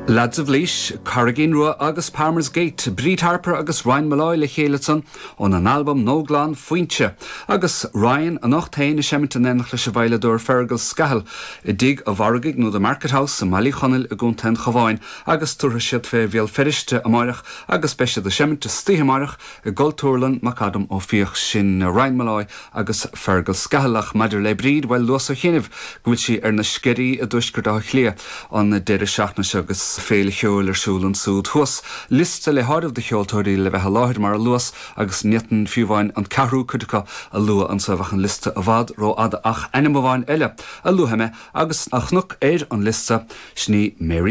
Lads of Laois, Carraigín Rua agus Palmer's Gate, Bríd Harper agus Ryan Molloy le chéile ansan óna n-albam nua glan Foinse. Agus Ryan anocht féin ag seimint in éineacht leis an veidhleadóir Fergal Scahill i dTigh a' Mhargaidh nó The Market House i mBaile Uí Chonaill i gContae an Chabháin agus tabharfaidh siad fé Bhéal Feirste amáireach agus beidh siad ag seimint istoíche amáireach i gCultúrlann McAdam Ó Fiaich. Sin Ryan Molloy agus Fergal Scahill. Ach maidir le Bríd, bhuel, luas ó chianaibh go bhfuil sí ar na Sceirí i dtuaisceart Átha Cliath an deireadh seachtaine seo agus féile cheoil ar siúl ansúd thuas. Liosta le háireamh de cheoltóirí le bheith i láthair, mar a luas, agus ní fhéadfainn fiú amháin an ceathrú cuid acu a lua anseo, bheadh an liosta i bhfad rófhada. Ach ainm amháin eile a luafaidh mé agus a chonac ar an liosta, sin í Mary.